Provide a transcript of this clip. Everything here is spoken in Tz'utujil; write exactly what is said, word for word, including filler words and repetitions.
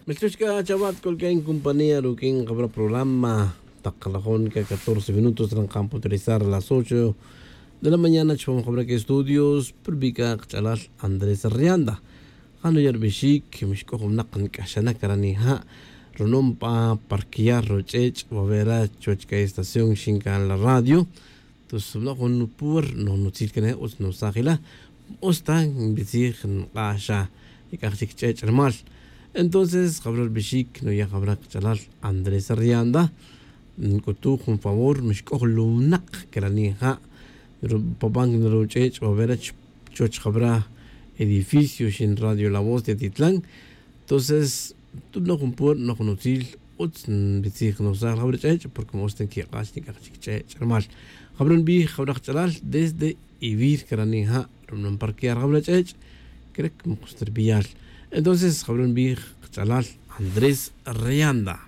Melch'uch c'a chawa' tcolq'uen compañía ruq'uin kabra' programa. Tak lajon c'a catorce minutos ran kan puterizar las ocho de la mañana chupam kabra' estudios. Purbi c'a kach'alal andrés rianda. Jano' ya rubixic mixc'oj winak nc'axana' cara' nija'. Runom pa parquear ruch'ech' wavera chuwech c'a estación xin can la radio. Tus noj jun pur noj nutzil cana' utz nusaj ila. Utz ta nbitzij nk'ax xa ic'aj chic ch'ech' rumal. Entonces jabra' rubixic nuya' jabra' kach'alal andrés rianda. Nc'utuj jun favor mixc'oj lunak cara' nija'. Paban ruch'ech' wavera chuwech jabra' edificio xin radio la voz de atitlan. Tonces tu noj jun pur noj jun utzil utz nbitzij nusaj jabra' ch'ech' porque ma utz ta nquik'ax nic'aj chic ch'ech' rumal jabra' nbij jabra' kach'alal desde ivir cara' nija'. Rumal nparquear jabra' ch'ech' crec ma kutz ta rbiyal. Entonces jabra' nbij kach'alal andrés rianda.